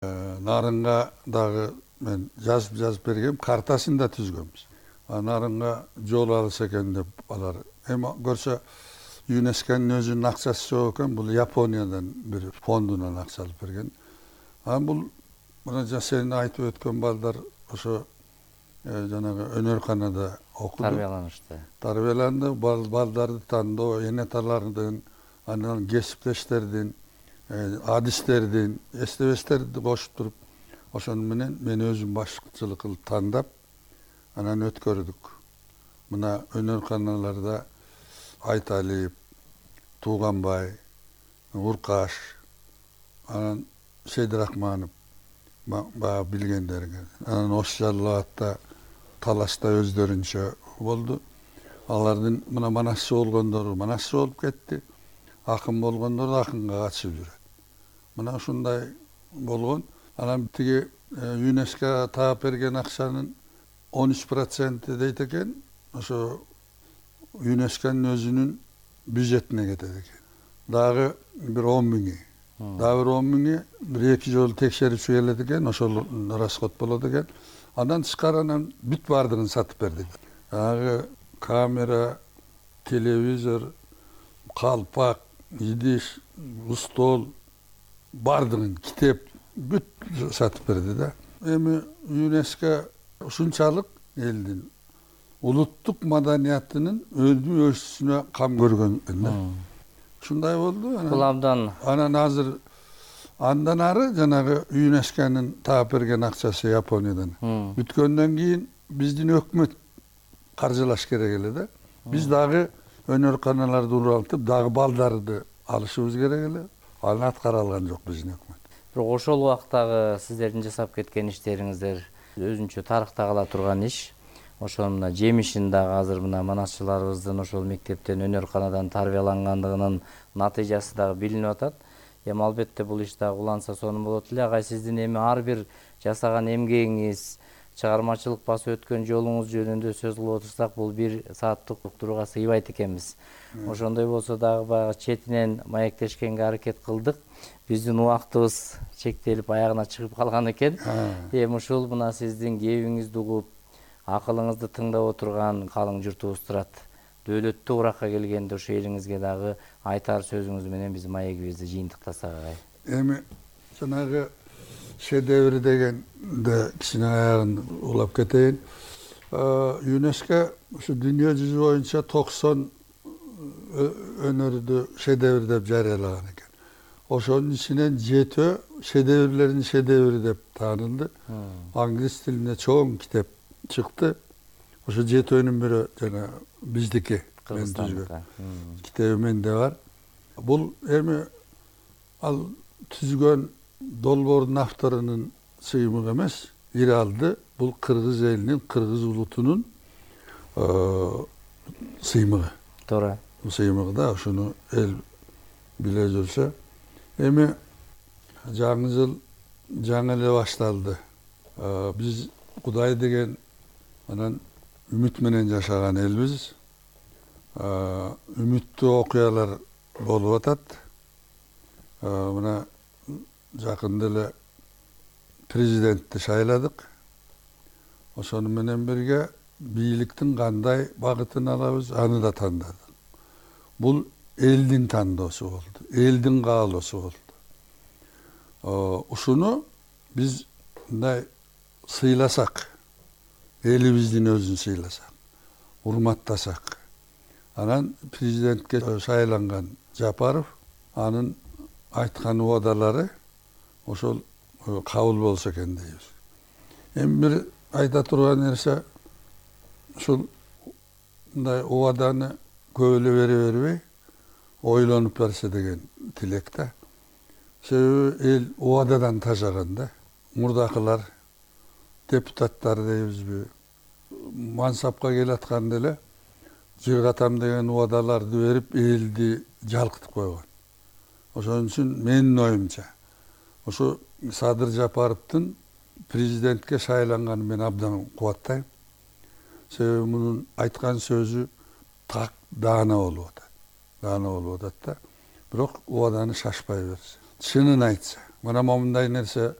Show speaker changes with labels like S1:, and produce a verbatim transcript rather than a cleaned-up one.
S1: Нарынга дагы мен жазып жазып бергем, картасын да түзгөнбүз. Нарынга жол алса экен деп алар. Эми көрсө ЮНЕСКОнун өзүнүн акчасы жок экен, бул Япониядан бир фондунан акча алып берген. Анан бул мына сен айтып өткөн балдар ошо жанагы өнөрканада окуду.
S2: Тарбияланышты.
S1: Тарбияланды, балдарды тандоо, энеталардын, анан кесиптештердин, адистердин, эстебестерди кошуп туруп, ошону менен мен өзүм башчылык кылып тандап, анан өткөрдүк. Мына өнөрканаларда Айталиев, Тууганбай, Уркаш, анан Сейдирахманов баа билгендерге. Анан Ошжалаатта талашта өздөрүнчө болду. Алардын мына манасчы болгондору манасчы болуп кетти. Акын болгондор акынга катышып жүрөт. Мына ушундай болгон. Анан тиги ЮНЕСКО таап берген акчанын он үч проценти дейт экен, ошо ЮНЕСКОнун өзүнүн бюджетине кетет экен. Дагы бир он миңи. Дагы бир он миңи бир эки жолу текшерүүчү келет экен, ошол расход болот экен. Андан тышкары анан бүт баардыгын сатып бердик. Дагы камера, телевизор, калпак, идиш, стол, баардыгын, китеп бүт сатып берди да. Эми ЮНЕСКО ушунчалык элдин улуттук маданиятынын өдүү өсүшүнө кам көргөн да. Ушундай болду.
S2: Бул абдан.
S1: Анан азыр андан ары жанагы ЮНЕСКОнун таап берген акчасы Япониядан бүткөндөн кийин биздин өкмөт каржылаш керек эле да. Биз дагы өнөрканаларды уралтып, дагы балдарды алышыбыз керек эле. Аны аткара алган жок биздин өкмөт.
S2: Бирок ошол убактагы сиздердин жасап кеткен иштериңиздер өзүнчө тарыхта кала турган иш. Ошонун мына жемишин дагы азыр мына манасчыларыбыздын ошол мектептен, өнөрканадан тарбиялангандыгынын натыйжасы дагы билинип атат. Эми албетте бул иш дагы уланса сонун болот эле. Агай, сиздин эми ар бир жасаган эмгегиңиз, чыгармачылык басып өткөн жолуңуз жөнүндө сөз кылып отурсак, бул бир сааттык уктурууга сыйбайт экенбиз. Ошондой болсо дагы баягы четинен маектешкенге аракет кылдык. Биздин убактыбыз чектелип аягына чыгып калган экен. Эми ушул мына сиздин кебиңизди угуп, акылыңызды тыңдап отурган калың журтубуз турат. Дөөлөттүү уракка келгенде ошо элиңизге дагы айтар сөзүңүз менен биздин маегибизди жыйынтыктасак агай.
S1: Эми жанагы шедевр дегенде кичине аягын улап кетейин. ЮНЕСКО ушу дүйнө жүзү боюнча токсон өнөрдү шедевр деп жарыялаган экен. Ошонун ичинен жетөө шедеврлердин шедеври деп таанылды. Англис тилинде чоң китеп чыкты. Ошо жетөөнүн бири жана биздики, мен түзгөн китеби менде бар. Бул эми ал түзгөн долбоордун авторунун сыймыгы эмес, Иралды бул кыргыз элинин, кыргыз улутунун сыймыгы.
S2: Туура.
S1: Сыймыгы да ошону эл биле жүрсө. Эми жаңы жыл жаңы эле башталды. Биз Кудай деген анан үмүт менен жашаган элбиз. Үмүттүү окуялар болуп атат. Мына жакында эле президентти шайладык. Ошону менен бирге бийликтин кандай багытын алабыз, аны да тандадык. Бул элдин тандоосу болду, элдин каалоосу болду. Ушуну биз мындай сыйласак, элибиздин өзүн сыйласак, урматтасак, анан президентке шайланган Жапаров, анын айткан убадалары ошол кабыл болсо экен дейбиз. Эми бир айта турган нерсе, ушул мындай убаданы көп эле бере бербей, ойлонуп берсе деген тилек да. Себеби эл убададан тажаган да. Мурдакылар, депутаттар дейбизби, мансапка келатканда эле жыргатам деген убадаларды берип, элди жалкытып койгон. Ошон үчүн менин оюмча, ошо Садыр Жапаровдун президентке шайланганын мен абдан кубаттайм. Себеби мунун айткан сөзү так даана болуп атат. Даана болуп атат да. Бирок убаданы шашпай берсе, чынын айтса, мына момундай нерсе